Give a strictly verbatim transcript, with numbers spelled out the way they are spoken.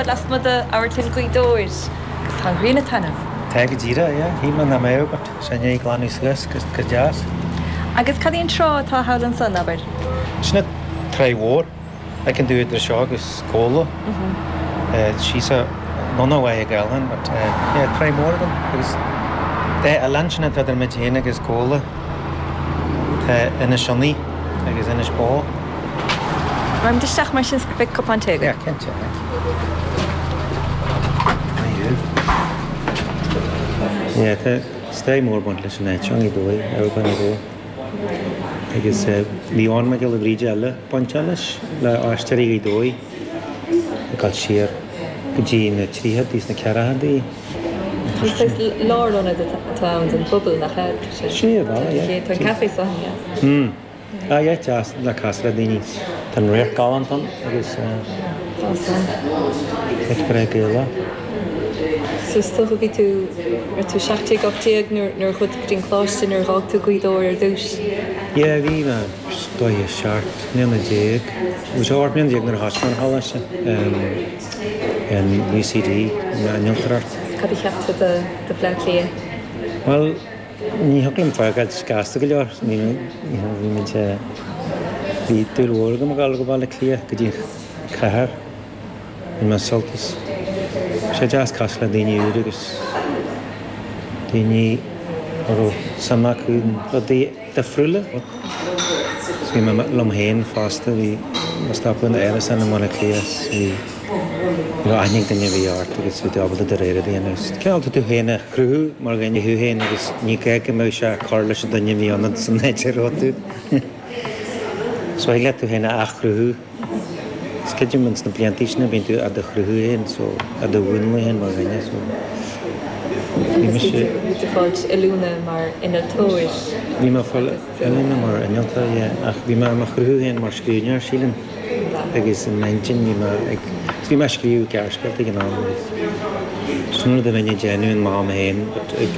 Lasmuigh d'Amharclann Ghaoth Dobhair agus tá an ghrian ag taitneamh. Tá go díreach, yeah. Shíl mé nach mbeadh, but sé i ndiaidh glanadh suas go go deas. Agus cad í an trá atá thall ansan, abair? Sin an Tráigh Mhór. Feiceann tú idir seo agus Comhla. Síos anonn ó Mhachaire Gathlán, but yeah, Tráigh Mhór agam agus tá oileán sin atá idir muid féin agus Comhla. Tá Inis Ionnaí agus Inis Bó. Raghaimid isteach mar sin beidh cupán tae Yeah, cinnte. Maith thú. Yeah, tá stair mór baint leis an áit seo, Gaoth Dobhair, Amharclann Ghaoth Dobhair. Agus bhí Eoin Mac Giolla Bhríde eile bainte leis le Aisteoirí Ghaoth Dobhair ag dul siar go dtí na tríochadaí is na ceathrachaidí. Lárionad atá ann don phobal nach ea? Sí, ar bhealach, yeah. Tá an café seo deas. Hmm. Ah, yeah, deas le casadh le daoine. Tá an radharc galánta ann agus Tá san. Áit breá Gaelach. So is dócha bhí tú ar tú seacht déag ocht déag nuair nuair a chuaigh tú go dtí an coláiste nuair a d'fhág tú Gaoth Dobhair ar dtús. Yeah, bhí mé dóigh seacht mbliana déag. Bhí sé ocht mbliana déag nuair a thosaigh mé an choláiste in UCD in innealtóireacht. Cad a cheap tú de de Bhleá Cliath? Well, ní thig liom fágáil gasta go leor. Ní bhí muid bhí dúil mhór agam ag dul go Baile Átha Cliath go dtí cathair. Bhí mé soltas. Sé deas casadh le daoine úr agus daoine a raibh suim acu in rudaí difriúla. Bhí mé liom féin fosta, bhí mé stopadh in árasán i mBaile Átha Cliath bhí bhí aithne ag duine a bhí ort agus bhí tú ábalta do rogha a dhéanamh. Cineál tú tú féin a chruthú mar dhuine thú féin agus ní gá go mbeadh sé ag cur leis an duine a bhí ionat san áit a raibh tú. So thig leat tú féin a athchruthú. Is creidim ins na blianta sin bíonn tú á do chruthú féin so á do mhúnlú féin mar dhuine so bhí mise Bhí tú fáilt oiliúna mar innealtóir. Bhí mé fáil oiliúna mar innealtóir yeah, ach bhí mé mo chruthú féin mar scríbhneoir sílim agus in m'intinn bhí mé ag bhí mé ag scríobh gearrscéalta ag an am agus sin rud a bhínn ag déanamh in m'am féin but ag